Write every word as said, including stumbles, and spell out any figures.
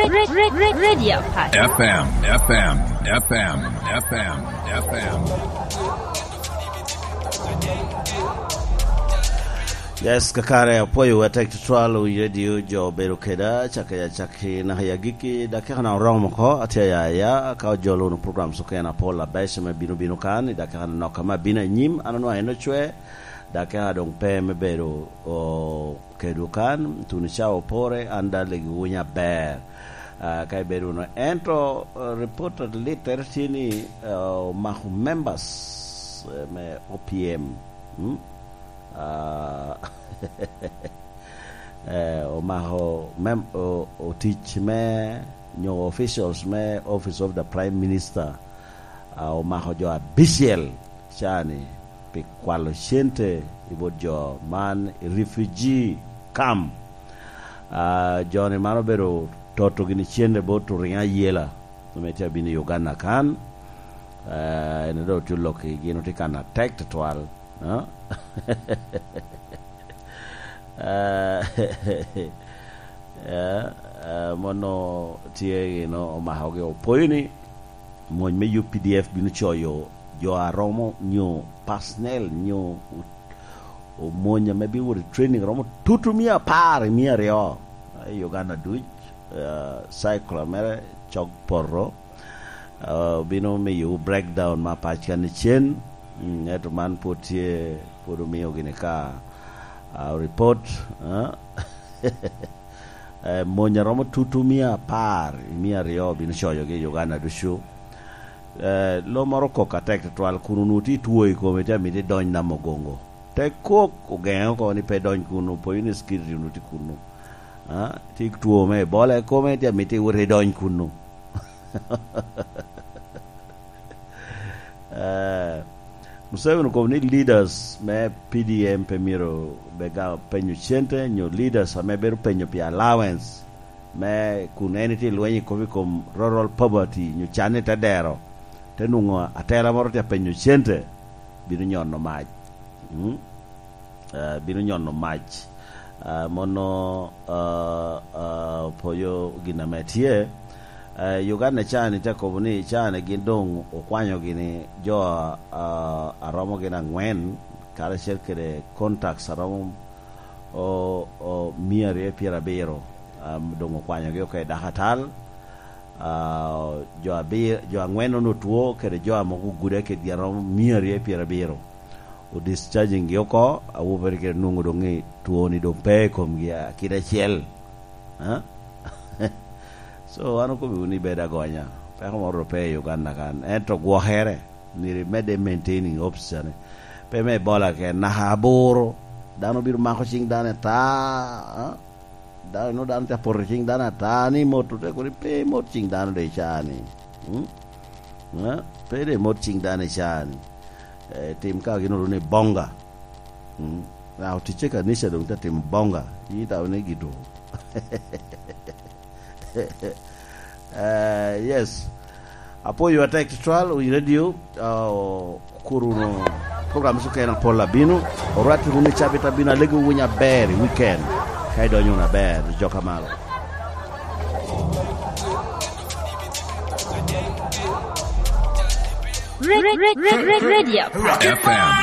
Red, red, red, Radio Apac. F M, F M, F M, F M, F M. Yes, kakare apwoyo wa tek tutwal, wi radio jo obedo keda, cakki acakki naka i agikki, dakika na oromo oko, atye aya aya, ka ojolo wunu program okene apol abeco me bino bino kan, i dakika nok ame abino anyim, an onwaŋ en ocwe, dakika doŋ pe me bedo, o, kedwu kan, tuno ca opore, an daŋ legi wunya aber. Ah, ka ibedo wunu. Ento, eh, report alittere tye ni, eh, omako members, eh, me O P M. Mm? Ah, eh, omako mem-, o-, otic me, nyo officials me Office of the Prime Minister, ah, omako jo abicel cani pi kwalo cente i bot jo man i refugee camp. Ah, jo-ni man obedo toto gini cente bot oringo ayela, ame tye abino i Uganda kan. Ah, en doŋ oculo ki gin otye kan atek tutwal. Ah? Ah, eh, eh, mono tye gino omakogi, opoyo ni mony me U P D F bino coyo jo a romo nyo personnel nyo o-, omony ame bino wot i training romo tutu mia apar i mia aryo i Uganda duc, eh, cycle mere cok poto, eh, bino miyo breakdown ma pac kan icen, mm, ento man pwod tye, pwod omio gini ka, ah, report, eh? Eh, mony a romo tutu mia apar i mia aryo obino coyogi i Uganda ducu. Eh, lo moro kok atek tutwal, kun onwoŋo tye two i kome, tye amito idony Namugongo. Te kok ogeŋe oko ni pe idony kunnu, opoyo ni security onwoŋo tye kunnu. Ah, tye two me Ebola i kome, tye amito iwot idony kunnu. Eh, Museveni okobo ni leaders me P D M pe myero bega penyo cente, nyo leaders ame bedo penyo pi allowance me kun en itye lweny i kop i kom rural poverty, nyo can i te dero, te nwoŋo atela moro tye apenyo cente, bino nyono mac. Mm? Eh, bino nyono mac. Ah, mono, ah, ah, opoyo gin ame tye. Eh, Uganda cani te kobo ni cani gin doŋ okwanyo gini jo, ah, a romo gin angwen, karacel kede contacts a romo o, o, mia aryo pyerabiro, ah, doŋ okwanyogi oko i dakatal. Ah, jo abir-, jo angwen onwoŋo two, kede jo a mogo ogude kedgi a romo mia aryo pyerabiro. O discharging gi oko, awobe kede nwoŋo doŋ i two-ni doŋ pe i komgi, ah, kit acel. Ah? So, an okobbiwu ni bed agonya. Peko moro doŋ pe i Uganda kan. Ento gwokere, myero imedde maintaining officer-ni. Pe me Ebola ken, naka aboro, dano bino mako ciŋ dano ata, ah? Dano, inwoŋo dano tye apoto ciŋ dano ata ni mot, ote kono pe imot ciŋ dano doŋ i caa ni. Mm? Eh? Pe doŋ imot ciŋ dano i caa ni. Eh, tim ka gin oro ni bonga. Mm? Na oticce kanica doŋ te timo bonga. Yi tamo ni gitu. Eh, yes. Apwoyo atek tutwal, wi radio, ah, kur wunu program okene apol abino. Orwat wunu i cabit abino, alego winy aber i weekend. Ka idonyo wunu aber, jo ka malo. Red, red, red, red, radio. F M.